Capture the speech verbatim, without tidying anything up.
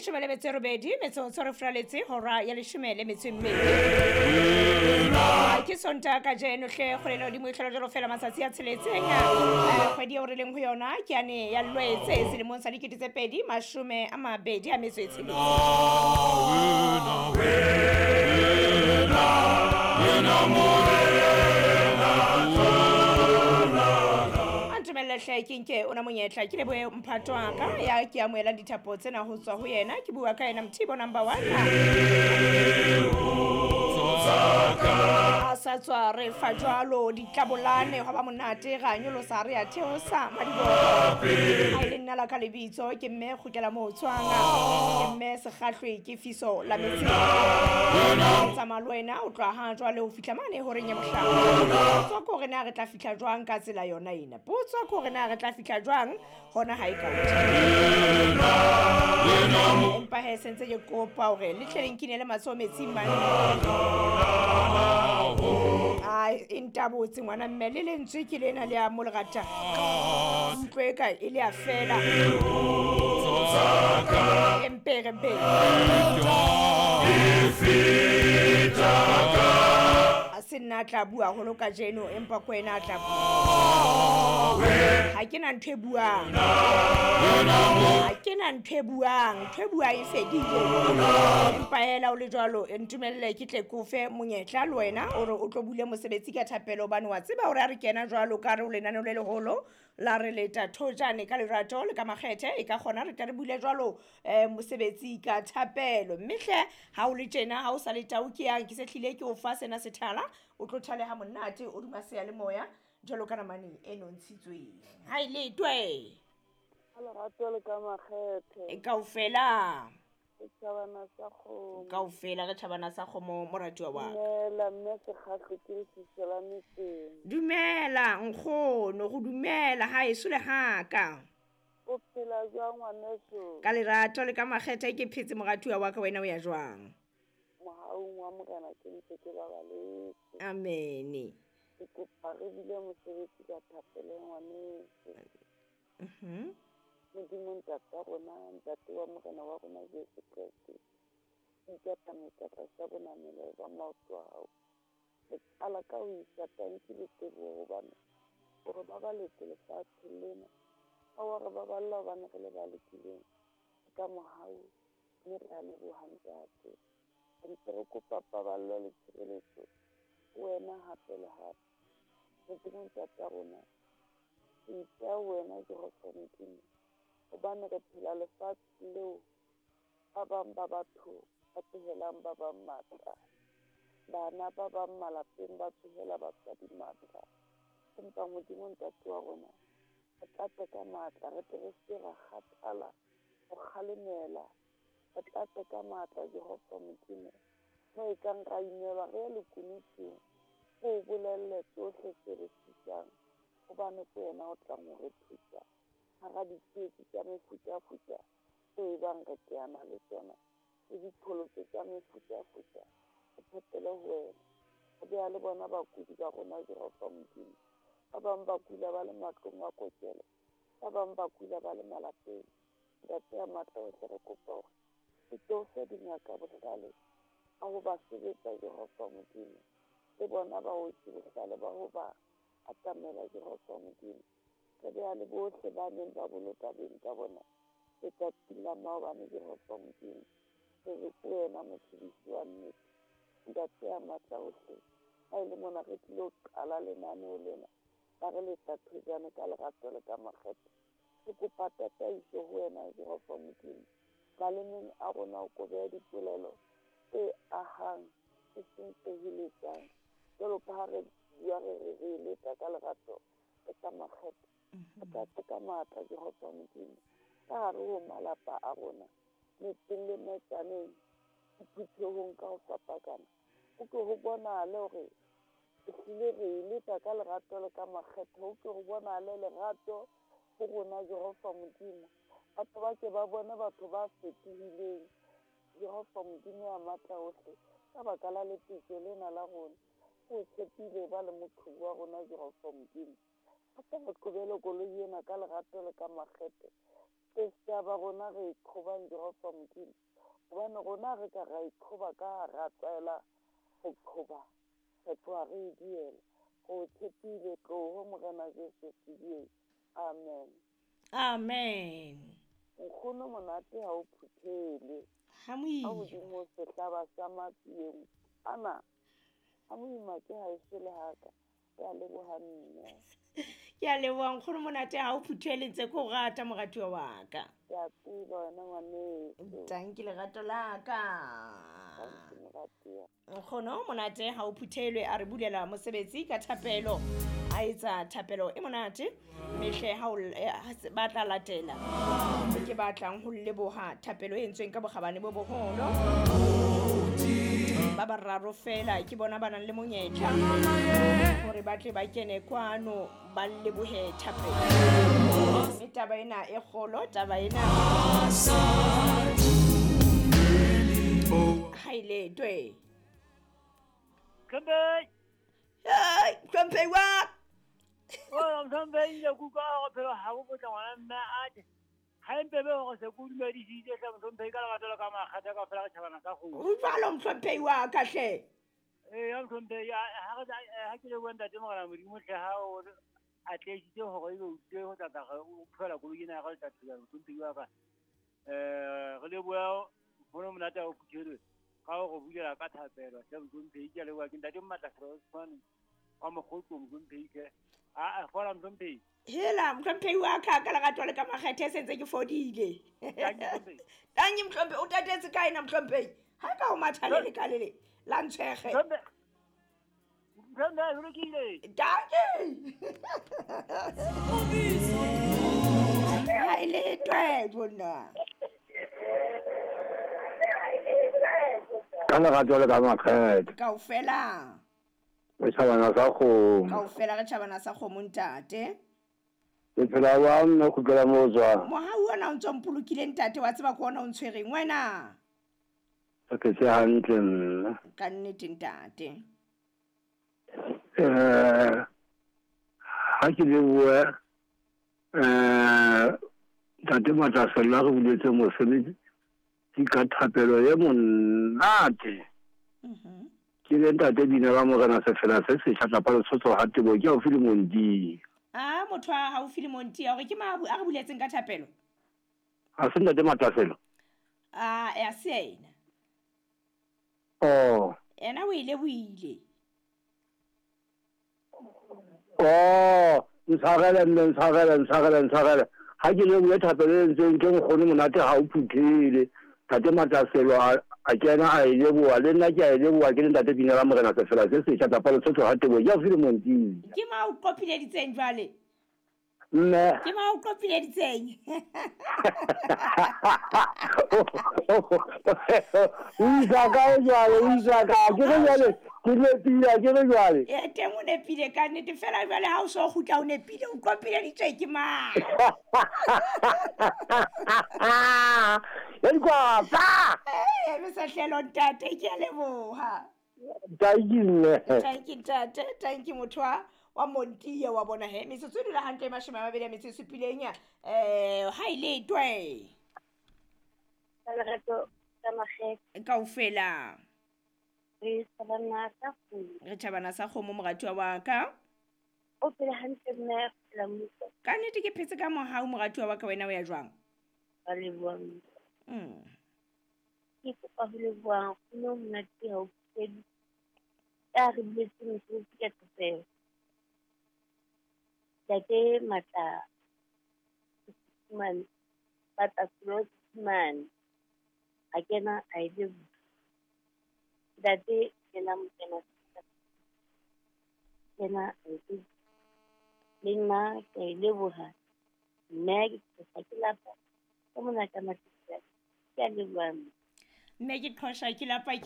Leshome le metso e robedi metsotso re furaletse hora ya leshome le metso e mmedi. Ke Sontaha kajeno hle, kgwedi ena hodimo e hlola jwalo fela matsatsi a tsheletseng. Kgwedi eo re leng ho yona ke yane ya Lwetse selemong sa dikete tse pedi mashome a mabedi a metso e tsheletseng. Ntumelle hle ke nke ona monyetla ke lebohe mphato wa ka ya ke amohelang dithapo tsena ho tswa ho yena. Ke bua ka yena Mthibo number one. A sa tswa re fa jwalo ditlabolane hwa ba monate ra nyolosa re a theosa madiboho. Ha e le nna la ka lebitso ke mme Kgutlela moo tswang, ke mme Sekgahlwe ke fiso la metsing. Tsamaya le wena o tloha ha jwale ho fihla mane horeng ya bohlano. Potso ke hore na re tla fihla jwang ka tsela yona ena. Potso ke hore na re tla fihla jwang hona ha e ka hodimo. Empa he sentse ke kopa hore le tle le nkinele matsoho metsing mane. Ai, e ntabotse ngwana mme le lentswe ke lena le a mo le ratang. Utlwe e ka e le a fela. Empe re be. A se nna a tla bua haholo kajeno, empa ke wena a tla bua. Ha ke na ntho e buang. Ha ke na ntho e buang. Ntho e buang e fedile. Empa hela o le jwalo, ntumelle ke tle ke o fe monyetla le wena hore o tlo bule mosebetsi ka thapelo, hobane wa tseba hore ha re kena jwalo ka re o lenaneo le leholo la re leta thojane ka lerato le ka makgethe, e ka kgona re tle re bule jwalo mosebetsi ka thapelo. Mme hle ha o le tjena, ha o sa le tau ke yang ke se hlile ke o fa sena sethala, o tlo thaleha monate o duma seyalemoya jwalo ka namane e nontshitsweng. Ha e letwe. Ka lerato le ka makgethe. Kaofela. Re tjhabana sa kgomo. Kaofela re tjhabana sa kgomo moratuwa wa ka. Dumela mme Sekgahlwe ke lefiso la metseng. Dumela nkgono, go dumela haeso le haka. O phela jwang ngwaneso? Ka lerato le ka makgethe ke phetse moratuwa wa ka, wena o ya jwang? Mohaung wa Morena ke ntse ke babaletse. Amen. Ke kopa re bile mosebetsi ka thapelo ngwaneso. Mhm. Modimo ntate wa rona, ntate wa Morena wa rona Jesu Kreste, ikatametse tlasa bonamelo ba maoto a hao. Re qala ka ho isa tanki le teboho hobane o re babaletse lefatshe lena. Ha wa re baballa hobane re le ba lokileng. Ka mohau mme re a leboha ntate. Re ntse re kopa paballo le tshireletso ho wena hape le hape. Modimo ntate wa rona, re ipeha ho wena Jehova Modimo, hobane re phela lefatshe leo ba bang ba batho ba tsohelang ba bang matla, bana ba bang malapeng ba tsohela batswadi matla. Empa Modimo ntate wa rona, re tlatse ka matla, re tle re se ke ra kgathala ho kgalemela. Re tlatse ka matla Jehova Modimo, mo e kang ra imelwa re ye lekunutung, re o bolelle tsohle tse re sitang, hobane ke wena o tlang ho re thusa hara ditsietsi tsa mefutafuta tseo ebang re teana le tsona, le diqholotso tsa mefutafuta. Re tshepele ho wena. Re beha le bona bakudi ba rona Jehova Modimo. Ba bang ba kula ba le matlong a kokelo, ba bang ba kula ba le malapeng. Ntate ya matla ohle, re kopa hore o tlo fe dingaka bohlale ba ho ba sebetsa Jehova Modimo, le bona baoki bohlale ba ho ba atamela Jehova Modimo. Re beha le bohle ba neng ba boloka beng ka bona letsatsing la maobane Jehova Modimo. Re re ke wena motshedisi wa nnete, ntate ya matla ohle. Ha e le mona re tlilo qala lenaneo lena ba re leta thojane ka lerato le ka makgethe. Re kopa tataiso ho wena Jehova Modimo. Malemeng a rona o ko behe dipolelo tse ahang, e seng tse heletsang. Jwalo ka ha re bua re re re leta ka lerato le ka makgethe. Re tlatse ka matla Jehova Modimo ka hare ho malapa a rona, metseng le metsaneng, diphuthehong ka ho fapakana. Ho ke ho bonahale hore ehlile re e leta ka lerato le ka makgethe. Ho ke ho bonahale lerato ho rona Jehova Modimo. Batho ba ke ba bone batho ba fetohileng Jehova Modimo ya matla ohle, ka baka la lepetjo lena la rona. O tshepile ba le moqhubu wa rona Jehova Modimo. A ka re qobele koloi ena ka lerato le ka makgethe. Ke setjhaba rona re iqhobang Jehova Modimo. Hobane rona re ka ra iqhoba ka ra tlwaela ho qhoba. Re tloha re e diela. Re o tshepile tloho Morena Jesu Sedie. Amen. Amen. Nkgono monate ha o phuthele. Ha moima. Ha hodimo sehlaba sa matsieng. Ana, ha moima ke ha e shele haka. Ke a leboha mme. Ke a leboha nkgono monate ha o phuthele ntse ke o rata moratuwa wa ka. Ke a tseba wena ngwaneso. Tanki lerato la ka. Tanki moratuwa. Nkgono monate ha o phuthelwe a re bulela mosebetsi ka thapelo. A etsa thapelo e monate mehle ha o ba tla latela. Ke batlang ho leboha thapelo e entsweng ka bokgabane bo boholo. Ba bararo fela ke bona ba nang le monyetla hore ba tle ba kene kwano ba lebohe thapelo. Mme taba ena e kgolo, taba ena ha ile twe. Mhlompehi. Hey, Mhlompehi wa. Oh, Mhlompehi ile kuka go phela ha go botla ngwana mme a tle. Ha empe be go se ku dumedisitse hle Mhlompehi ka lerato la ka makgatha ka fela re tjhabana ka kgomo. O jwalo Mhlompehi wa ka hle. Eh, ya Mhlompehi ha re ha ke le bua ntate Morena Modimo hle ha o atlehisitse hore ebe o tlile ho tla tla o phela koloi ena ya ka letsatsi la Mhlompehi wa ka. Eh, re le bua nkgono monate ha o phuthelwe. Ka go bulela ka thapelo hle Mhlompehi ke a leboha ke ntate Mmatla Osman wa Mokgotso Mhlompehi hle. A a fola Mhlompehi. Hela Mhlompehi wa ka ka lerato le ka makgethe se ntse ke fodile. Tanki Mhlompehi o tatetse kae na Mhlompehi? Ha ka o matha le le ka le le la ntshwege. Mhlompehi ho lokile. Tanki. Ha ile twe bona. Ka lerato le ka makgethe. Kaofela. Re tjhabana sa kgomo. Kaofela re tjhabana sa kgomo ntate. Ke phela wa mme kgutlela mo tswa. Mohau ona o ntso mpolokile ntate wa tseba ke ona o ntshwereng wena. Ke phetse hantle nna. Ka nnete ntate. Eh ha ke leboha eh ntate Matlasela re buletse mosebetsi ke ka thapelo e monate. Mhm. Ke le ntate bina la Morena sefela se setjha tlapa Lesotho ha tebo ke haufi le Monti. Ah motho a haufi le Monti hore ke ma a re buletseng ka thapelo. Ha se ntate Matlasela. Ah ya se ena. Oh. Ena o ile buile. Oh, ntshwarele mme ntshwarele ntshwarele ntshwarele. Ha ke le bue thapelo e entsweng ke nkgono monate ha o phuthele. Ntate Matlaselo a kena a e leboha le nna ke a e leboha ke le ntate bina la Morena sefela se setjha tlapa Lesotho ha tebo ke haufi le Monti. Ke ma o qopileditseng jwale? Mme. Ke ma o qopileditseng? O isa kae jwale, o isa kae? Ke re jwale, ke nepile, ke re jwale. E teng o nepile ka nnete fela jwale ha o so kgutla o nepile o qopileditswe ke mang? Ya dikwapa. Eh, mesahlelo ntate ke a leboha. Tanki mme. Tanki ntate, tanki motho wa wa Montiya wa bona he. Metsotso e dula hantle e mashome a mabedi a metso e supileng ya eh ha ile twe. Ka lerato ka makgethe. Kaofela. Re tjhabana sa kgomo. Re tjhabana sa kgomo moratuwa wa ka. O phela hantle mme re phela mmuso. Ka nnete ke phetse ka mohau moratuwa wa ka wena o ya jwang? Ba leboha mme. Mm. Ke kopa ho leboha nkgono monate ha o phuthelwe. Ya re buletse mosebetsi ka thapelo. Ntate Matla Mane, Matla Mane, a kena a e leboha. Ntate kena mokena kena a e leboha. Le nna ke a e leboha. Mme ke qhosha ke lapa ka mona ka matsatsi a. Ke a leboha mme. Mme ke qhosha ke lapa ke